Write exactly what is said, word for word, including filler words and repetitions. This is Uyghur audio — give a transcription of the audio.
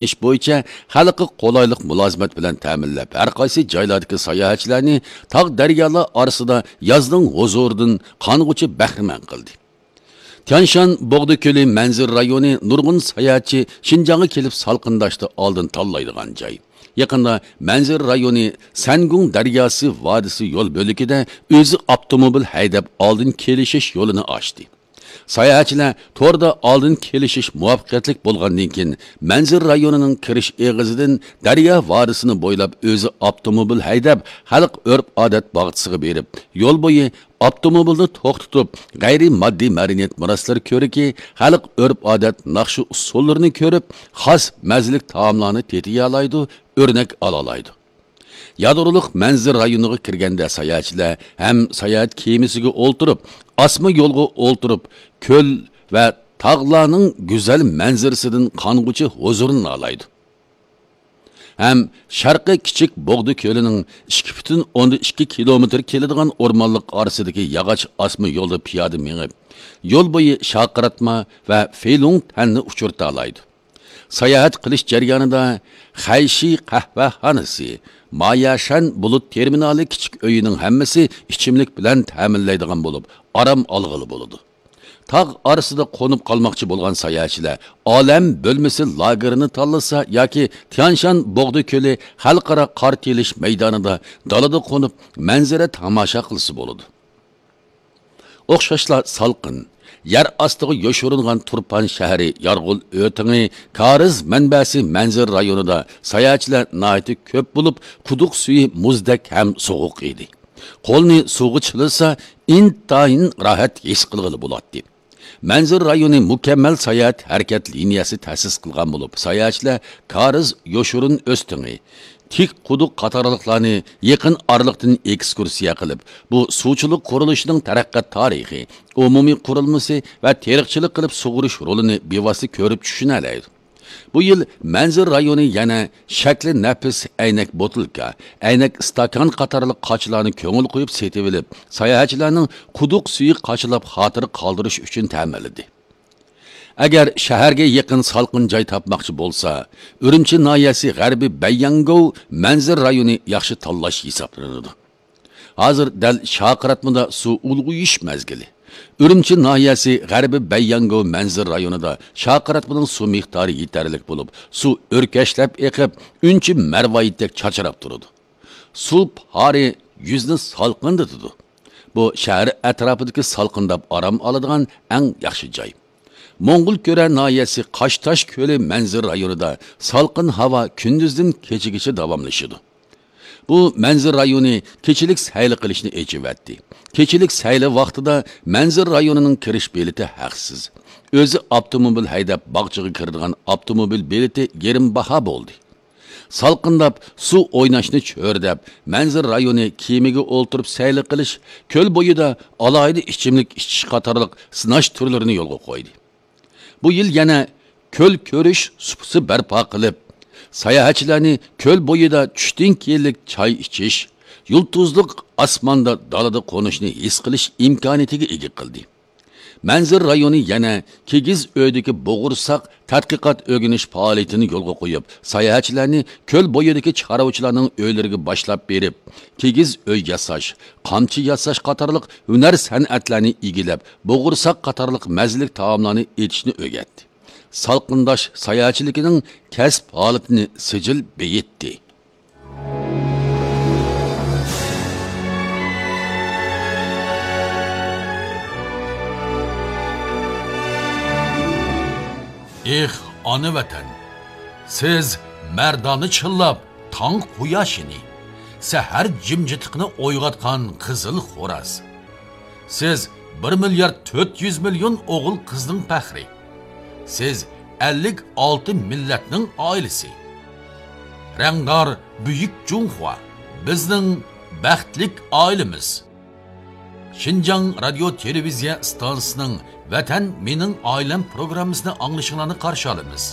ئېلىش بويىچە خەلققە قولايلىق مۇلازىمەت بىلەن تەمىنلەپ، ھەر قايسى جايلاردىكى ساياھەتچىلەرنى تاغ دەريالار ئارىسىدا يازنىڭ ھۇزۇرىدىن قانغۇچە بەھرىمەن قىلدى. تيانشان بوغدا كۆلى مەنزىرە رايونى نۇرغۇن ساياھەتچى شىنجاڭغا كېلىپ سالقىنداشتا ئالدىن تاللايدىغان جاي. يېقىندا مەنزىرە رايونى سەنگۇڭ دەرياسى ۋادىسى يول بۆلىكىدە ئۆزى ئاپتوموبىل ھەيدەپ ئالدىن كېلىشىش يولىنى ئاچتى. ساياھەتچىلەر توردا ئالدىن كېلىشىش مۇۋەپپەقىيەتلىك بولغاندىن كېيىن، مەنزىرە رايونىنىڭ كىرىش ئېغىزىدىن دەريا ۋادىسىنى بويلاپ ئۆزى ئاپتوموبىل ھەيدەپ، خەلق ئۆرپ-ئادەت باغچىسىغا بېرىپ، يول بويى ئاپتوموبىلنى توختىتىپ، غەيرىي ماددىي مەدەنىيەت مىراسلىرى كۆرىكى، خەلق ئۆرپ-ئادەت، ناخشا-ئۇسسۇللىرىنى كۆرۈپ، خاس مەززىلىك تائاملارنى تېتىيالايدۇ، ئۆرنەك ئالالايدۇ. يادرولۇق مەنزىرە رايونىغا كىرگەندە ساياھەتچىلەر ھەم ساياھەت كېمىسىگە ئولتۇرۇپ، ئاسما يولغا ئولتۇرۇپ، كۆل ۋە تاغلارنىڭ گۈزەل مەنزىرىسىدىن قانغۇچە ھۇزۇرلىنالايدۇ. ھەم شەرقىي كىچىك بوغدا كۆلىنىڭ ئىككى پۈتۈن ئوندىن ئىككى كىلومېتىر كېلىدىغان ئورمانلىق ئارىسىدىكى ياغاچ ئاسما يولدا پىيادە مېڭىپ، يول بويى شارقىراتما ۋە فېيلۇڭ تەننى ئۇچرىتالايدۇ. ساياھەت قىلىش جەريانىدا خەيشى قەھۋەخانىسى، ماياشەن بۇلۇت تېرمىنالى كىچىك ئۆيىنىڭ ھەممىسى ئىچىملىك بىلەن تەمىنلەيدىغان بولۇپ، ئارام ئالغىلى بولىدۇ. تاغ ئارىسىدا قونۇپ قالماقچى بولغان ساياھەتچىلەر ئالەم بۆلمىسى لاگېرىنى تاللىسا ياكى تيانشان بوغدا كۆلى خەلقئارا قار تېيىلىش مەيدانىدا دالىدا قونۇپ مەنزىرە تاماشا قىلسا بولىدۇ. ئوخشاشلا سالقىن، يەر ئاستىغا يوشۇرۇنغان تۇرپان شەھىرى يارغول ئۆتىڭى كارىز مەنبەسى مەنزىرە رايونىدا ساياھەتچىلەر ناھايىتى كۆپ بولۇپ، قۇدۇق سۈيى مۇزدەك ھەم سوغۇق ئىدى. قولنى سۇغا چىلىسا، ئىنتايىن راھەت ھېس قىلغىلى بولاتتى. مەنزىرە رايونى مۇكەممەل ساياھەت ھەرىكەت لىنىيەسى تەسىس قىلغان بولۇپ، ساياھەتچىلەر كارىز يوشۇرۇن ئۆستىڭى، تىك قۇدۇق قاتارلىقلارنى يېقىن ئارىلىقتىن ئېكسكۇرسىيە قىلىپ، بۇ سۇچىلىق قۇرۇلۇشىنىڭ تەرەققىيات تارىخى، ئومۇمىي قۇرۇلمىسى ۋە تېرىقچىلىق قىلىپ سۇغىرىش رولىنى بىۋاسىتە كۆرۈپ چۈشىنەلەيدۇ. بۇ يىل مەنزىرە رايونى يەنە شەكلى نەپىس ئەينەك بوتۇلكا، ئەينەك ئىستاكان قاتارلىق قاچىلارنى كۆڭۈل قويۇپ سېتىۋېلىپ، ساياھەتچىلەرنىڭ قۇدۇق سۈيى قاچىلاپ خاتىرە قالدۇرۇش ئۈچۈن تەمىنلىدى. ئەگەر شەھەرگە يېقىن سالقىن جاي تاپماقچى بولسا، ئۈرۈمچى ناھىيەسى غەربىي بەيياڭگوۋ مەنزىرە رايونى ياخشى تاللاش ھېسابلىنىدۇ. ھازىر دەل شارقىراتمىدا سۇ ئۇلغىيىش مەزگىلى. ئۈرۈمچى ناھىيەسى غەربىي بەيياڭگوۋ مەنزىرە رايونىدا شارقىراتمىنىڭ سۇ مىقدارى يېتەرلىك بولۇپ، سۇ ئۆركەشلەپ ئېقىپ، ئۈنچە مەرۋايىتتەك چاچراپ تۇرىدۇ. سۇ پارى يۈزنى سالقىندىتىدۇ. بۇ شەھەر ئەتراپىدىكى سالقىنداپ ئارام ئالىدىغان ئەڭ ياخشى جاي. موڭغۇلكۈرە ناھىيەسى قاشتاش كۆلى مەنزىرە رايونىدا سالقىن ھاۋا كۈندۈزدىن كېچىگىچە داۋاملىشىدۇ. بۇ مەنزىرە رايونى كېچىلىك سەيلە قىلىشنى ئېچىۋەتتى. كېچىلىك سەيلە ۋاقتىدا مەنزىرە رايونىنىڭ كىرىش بېلىتى ھەقسىز. ئۆزى ئاپتوموبىل ھەيدەپ باغچىغا كىرىدىغان ئاپتوموبىل بېلىتى يېرىم باھا بولدى. سالقىنداپ، سۇ ئويناشنى چۆرىدەپ، مەنزىرە رايونى كېمىگە ئولتۇرۇپ سەيلە قىلىش، كۆل بويىدا ئالاھىدە ئىچىملىك ئىچىش قاتارلىق سىناش تۈرلىرىنى يولغا قويدى. بۇ يىل يەنە كۆل كۆرۈش سۇپىسى بەرپا قىلىپ، ساياھەتچىلەرنى كۆل بويىدا چۈشتىن كېيىنلىك چاي ئىچىش، يۇلتۇزلۇق ئاسماندا دالىدا قونۇشنى ھېس قىلىش ئىمكانىيىتىگە ئىگە قىلدى. مەنزىرە رايونى يەنە كىگىز ئۆيدىكى بوغۇرساق تەتقىقات ئۆگىنىش پائالىيىتىنى يولغا قويۇپ، ساياھەتچىلەرنى كۆل بويىدىكى چارۋىچىلارنىڭ ئۆيلىرىگە باشلاپ بېرىپ، كىگىز ئۆي ياساش، قامچا ياساش قاتارلىق ھۈنەر سەنئەتلەرنى ئىگىلەپ، بوغۇرساق قاتارلىق مەززىلىك تائاملارنى ئېتىشنى ئۆگەتتى. سالقىنداش ساياھەتچىلىكىنىڭ كەسىپ ھالىتىنى سىجىل بېيىتتى. ئېھ، ئانا ۋەتەن! سىز مەردانە چىللاپ، تاڭ قۇياشىنى، سەھەر جىمجىتلىقىنى ئويغاتقان قىزىل خوراز. سىز بىر مىليارد تۆت يۈز مىليون ئوغۇل-قىزنىڭ پەخرى. سىز ئەللىك ئالتە مىللەتنىڭ ئائىلىسى. رەڭدار بۈيۈك جۇڭخۇا، بىزنىڭ بەختلىك ئائىلىمىز. شىنجاڭ رادىيو تېلېۋىزىيە ئىستانسىسىنىڭ ۋەتەن مېنىڭ ئائىلەم پروگراممىسىنى ئاڭلىشىڭلارنى قارشى ئالىمىز.